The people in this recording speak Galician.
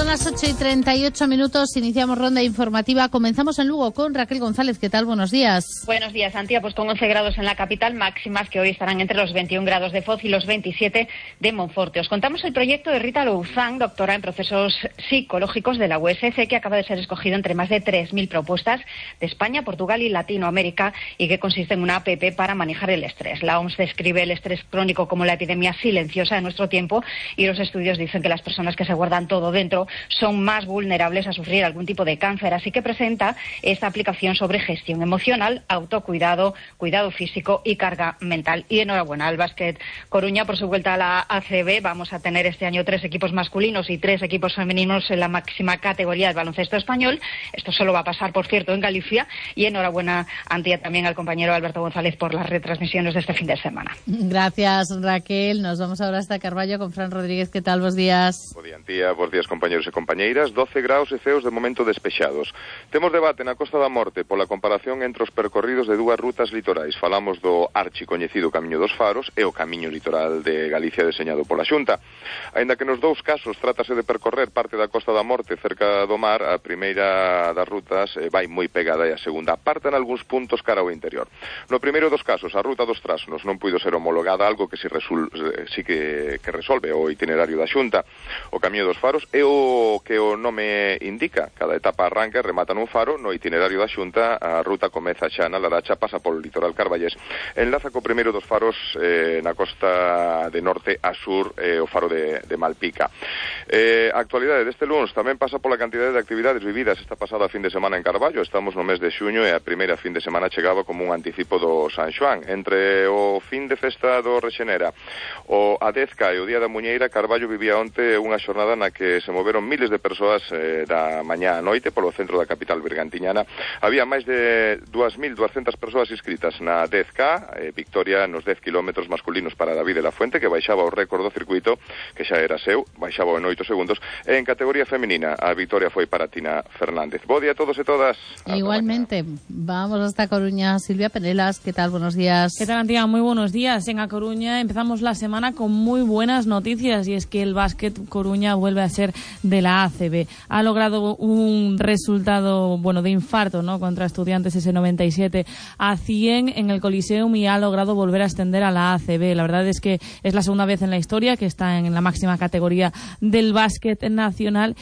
Son las 8:38, iniciamos ronda informativa. Comenzamos en Lugo con Raquel González. ¿Qué tal? Buenos días. Buenos días, Antía. Pues con 11 grados en la capital, máximas que hoy estarán entre los 21 grados de Foz y los 27 de Monforte. Os contamos el proyecto de Rita Louzán, doctora en procesos psicológicos de la USC, que acaba de ser escogido entre más de 3.000 propuestas de España, Portugal y Latinoamérica, y que consiste en una app para manejar el estrés. La OMS describe el estrés crónico como la epidemia silenciosa de nuestro tiempo, y los estudios dicen que las personas que se guardan todo dentro son más vulnerables a sufrir algún tipo de cáncer. Así que presenta esta aplicación sobre gestión emocional, autocuidado, cuidado físico y carga mental. Y enhorabuena al Básquet Coruña por su vuelta a la ACB. Vamos a tener este año 3 equipos masculinos y 3 equipos femeninos en la máxima categoría del baloncesto español. Esto solo va a pasar, por cierto, en Galicia. Y enhorabuena, Antía, también al compañero Alberto González por las retransmisiones de este fin de semana. Gracias, Raquel. Nos vamos ahora hasta Carballo con Fran Rodríguez. ¿Qué tal? Buenos días. Bo día, Antía. Bos días, compañeros e compañeiras. 12 graus e ceos de momento despexados. Temos debate na Costa da Morte pola comparación entre os percorridos de dúas rutas litorais. Falamos do archicoñecido Camiño dos Faros e o Camiño Litoral de Galicia deseñado pola Xunta. Aínda que nos dous casos trátase de percorrer parte da Costa da Morte cerca do mar, a primeira das rutas vai moi pegada e a segunda apartan algúns puntos cara ao interior. No primeiro dos casos, a ruta dos Trasnos non puido ser homologada, algo que sí que resolve o itinerario da Xunta. O Camiño dos Faros é o que o nome indica. Cada etapa arranca e remata nun faro. No itinerario da Xunta, a ruta comeza xa na Laracha, pasa polo litoral carballés, enlaza co primeiro dos faros na costa de norte a sur, o faro de Malpica. A actualidade deste luns tamén pasa pola cantidade de actividades vividas esta pasada fin de semana en Carballo. Estamos no mes de xuño e a primeira fin de semana chegaba como un anticipo do San Xoán. Entre o fin de festa do Rexenera, o Adezca e o Día da Muñeira, Carballo vivía onte unha xornada na que se moveron miles de persoas da mañá a noite polo centro da capital bergantiñana. Había máis de 2.200 persoas inscritas na 10K, victoria nos 10 kilómetros masculinos para David de la Fuente, que baixaba o récord do circuito, que xa era seu, baixaba en 8 segundos, e en categoría feminina a victoria foi para Tina Fernández. Bo día a todos e todas. Igualmente, vamos hasta Coruña. Silvia Penelas, ¿qué tal? Buenos días. ¿Qué tal, Antía? Muy buenos días. En A Coruña empezamos la semana con muy buenas noticias, y es que el Básquet Coruña vuelve a ser de la ACB. Ha logrado un resultado, de infarto, ¿no?, contra Estudiantes, ese 97-100 en el Coliseum, y ha logrado volver a ascender a la ACB. La verdad es que es la segunda vez en la historia que está en la máxima categoría del básquet nacional.